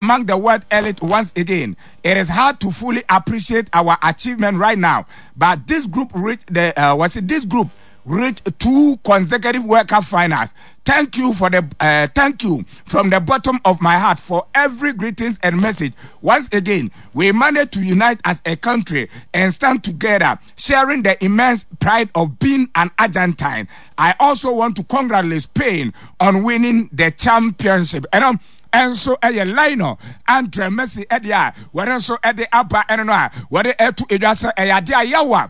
among the world elite once again. It is hard to fully appreciate our achievement right now, but this group reached the what's it, this group reached two consecutive World Cup finals. Thank you for the thank you from the bottom of my heart for every greetings and message. Once again, we managed to unite as a country and stand together, sharing the immense pride of being an Argentine. I also want to congratulate Spain on winning the championship. And ɛnso ɛyɛ Lionel Andre Messi ɛde a wɔde nso ɛde aba ɛno no a wɔde ɛto edwa sɛ ɛyɛ ade a yawa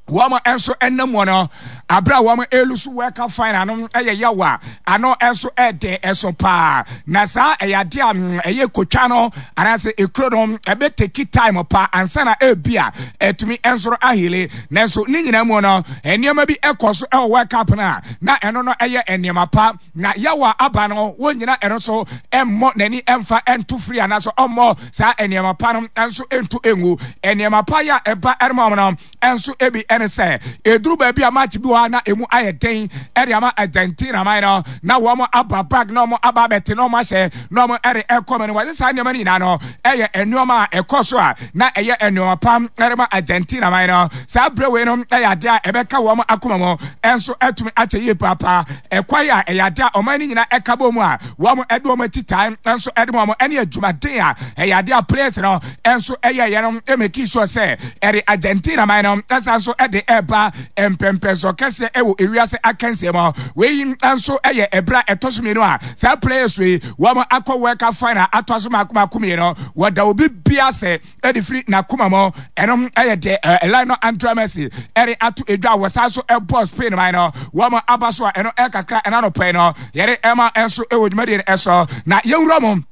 wɔn nso ɛnam wɔn no abere a wɔn elu so World Cup final no ɛyɛ yawa ano nso ɛden ɛso paa na saa ɛyɛ ade a ɛyɛ kotwa no anaasɛ ekuro no ɛbɛ take time pa ansa na ebi a ɛtumi nso ahele. Nanso ne nyinaa mu no, nneɛma bi ɛkɔ so ɛwɔ World Cup no a na ɛno no ɛyɛ nneɛma pa na yawa aba no wɔn nyinaa ɛno so ɛmmɔ n'ani ɛmfa ɛnto firi anaasɛ ɔmmɔ saa nneɛma pa no nso ɛnto engu. Nneɛma pa yɛ a ɛba ɛrema wɔn no ɛnso ebi ɛne sɛ eduru baabi a match bi wɔ ha na emu ayɛ den ɛde ama Argentina man no na wɔn aba back na wɔn aba abɛte na wɔn ahyɛ na wɔn ɛde ɛkɔ mu no, wɔde saa nneɛma no nyinaa no ɛyɛ nneɛma a ɛkɔ so a na ɛyɛ nneɛma pa ɛde ma Argentina man no. Saa abere wei no ɛyɛ adeɛ a ɛbɛka wɔn akoma mu ɛnso ɛtumi akyɛ yie paapaa. Ɛkwan a ɛyɛ adeɛ a ɔman no nyinaa ɛka bɔ mu a wɔn ɛde wɔn ati tae nso ɛde wɔn ɛne adwumaden a ɛyɛ adeɛ a players no ɛnso ɛyɛ yɛ no ɛ make sure sɛ ɛde Argentina man no ɛsan nso ɛde ɛba mpɛmpɛnso kɛseɛ ɛwɔ ewiase akansie mu. Wei nso ɛyɛ ɛbrɛ a ɛtɔ so mmienu a saa players wei wɔn akɔ World Cup final atɔ so mako mako mmienu. Wɔda obi bia sɛ ɛde firi n'akoma mu. Ɛno ɛyɛ deɛ Lionel Andre Messi ɛde ato edwa a wɔsan so ɛbɔ Spain man no wɔn aba so a ɛno ɛkakra ɛna no pɛɛ no yɛde ɛma ɛnso ɛwɔ dwumadie no ɛso. Na yɛwura mu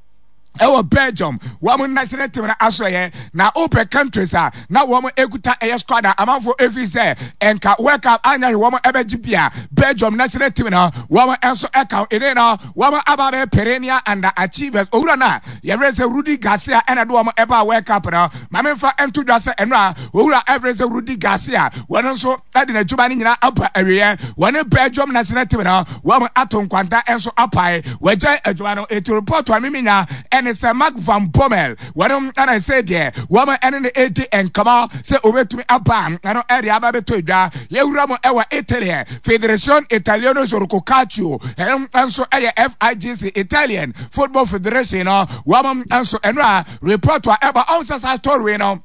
ɛwɔ Belgium wɔn national team no asoɛyɛ na wopɛ countries a na wɔn ekuta ɛyɛ squad a amanfo efi sɛ ɛnka World Cup anya hwɛ wɔn ɛbɛgye bia, Belgium national team no wɔn nso ɛka ɛne no wɔn aba bɛ perennial underachievers. Owura no a yɛfrɛ sɛ Rudi Garcia ɛna de wɔn ɛba World Cup no. Maame nfa nto dwa sɛ ɛno a owura ɛfrɛ sɛ Rudi Garcia wɔn nso ɛde n'adwuma no nyinaa aba awieɛ. Wɔne Belgium national team no wɔn ato nkwanta nso apae, wɔagyae adwuma no. Eti report a mimi nya ɛne sɛ Mark van Bommel wɔn ɛna sɛ deɛ wɔn ɛne no edi nkɔmɔ sɛ obetumi aba ɛno ɛde aba bɛtɔ edwa. Yɛwura mu ɛwɔ Italy, Federazione Italiano Gioco Calcio, ɛno nso ɛyɛ FIGC, Italian Football Federation no, wɔn nso ɛno a report a ɛba ɔn sɛ saa story no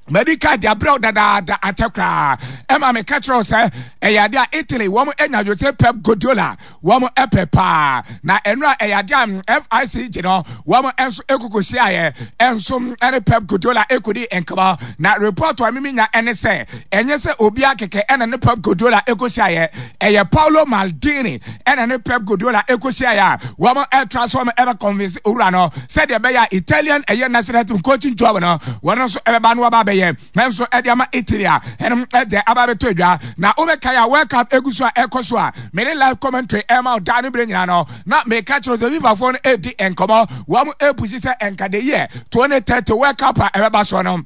madi ka de abrɛw dadaada akyɛ koraa ɛma meka kyerɛw sɛ ɛyɛ ade a Italy wɔn anya Jose Pep Guardiola wɔn ɛpɛ paa. Na ɛno a ɛyɛ ade a FICG no wɔn nso ekoko hyiaeɛ ɛnso ɛne Pep Guardiola ekodi nkɔmɔ. Na report a mimi nya ɛne sɛ ɛnyɛ sɛ obiara kɛkɛ ɛna ne Pep Guardiola eko hyiaeɛ, ɛyɛ Paolo Maldini ɛna ne Pep Guardiola eko hyiaeɛ a wɔn ɛtra so wɔn ɛbɛ convince owura no sɛdeɛ ɛbɛyɛ a Italian ɛyɛ national team coaching job no wɔn nso ɛbɛba no wɔba abɛyɛ nso ɛde ama Italy a ɛnom ɛde aba abɛtɔ adwa. Na wobɛkae a World Cup egu so a ɛkɔ so a mede live commentary ɛma ɔdaa no berɛ nyinaa no na meka kyerɛ sɛ FIFAfoɔ no ɛdi nkɔmmɔ, wɔn ɛpusi sɛ ɛnka the year 2030 World Cup a ɛbɛba soɔ no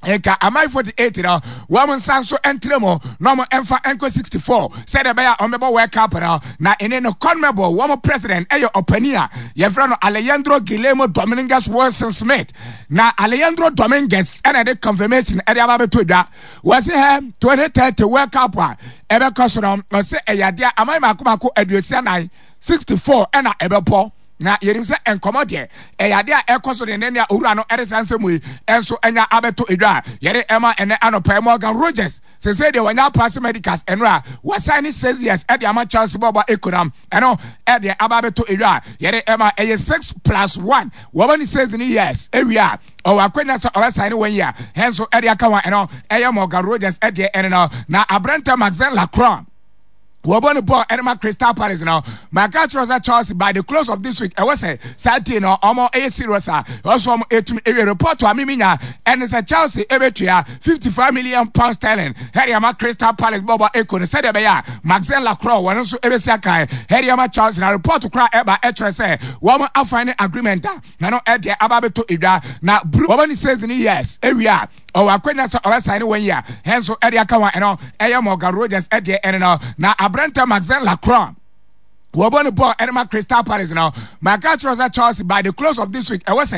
nka aman 48 no wɔn nsa nso ntere mu na wɔn mfa nkɔ 64 sɛdeɛ ɛbɛyɛ a wɔn bɛbɔ World Cup no. Na ɛne no CONMEBOL wɔn president ɛyɛ ɔpanin a yɛfrɛ no Alejandro Guillermo Dominguez Wilson Smith. Na Alejandro Dominguez ɛna ɛde confirmation ɛde aba abɛto dwa. Wɔsi hɛ 2030 World Cup a ɛbɛkɔ so no, ɔsɛ ɛyɛ adeɛ aman mako mako 64, 64 ɛna ɛbɛbɔ. Na yɛnim sɛ nkɔmɔ deɛ ɛyɛ adeɛ a ɛkɔ so denden a owura no ɛde saa nsɛm yi ɛnso ɛnya abɛto edwa a yɛde ɛma ɛnɛ anɔpɛ. Morgan Rogers sese deɛ wɔnya pass medicals ɛno a wɔsan ne 6 years ɛde ama Chelsea bɔɔbɔ ekonam ɛno ɛde aba abɛto edwa a yɛde ɛma ɛyɛ 6 plus 1. Wɔn ne 6 ne years ewia a ɔwɔ akwanya sɛ ɔbɛsan ne 1 year ɛnso ɛde aka wɔn. Ɛno ɛyɛ Morgan Rogers ɛdeɛ ɛne no. Na aberante Maxence Lacroix wɔbɔ ne bɔɔl ɛne ma Crystal Palace no, maka kyerɛ sɛ Chelsea by the close of this week ɛwɔ sɛ saa team no ɔmo ɛyɛ serious a ɔsɔ ɔmo etumi ewie. Report a mimi nya ɛne sɛ Chelsea ebetua £55 million ɛde ama Crystal Palace bɔɔbɔ eko no sɛdeɛ ɛbɛyɛ a Maxence Lacroix wɔn nso ebesi akan ɛde ama Chelsea. Na report kora ɛba ɛkyerɛ sɛ wɔn afan ne agreement a na no ɛdeɛ aba abɛtɔ edwa. Na buru wɔn ne 6 years ewia a ɔwɔ akwanya sɛ ɔbɛsan ne 1 year ɛnso ɛde aka wɔn. Ɛno ɛyɛ Morgan Rogers ɛdeɛ ɛne no. Na aberante Maxence Lacroix wɔbɔ ne bɔɔl ɛne ma Crystal Palace no, maka kyerɛ sɛ Chelsea by the close of this week ɛwɔ sɛ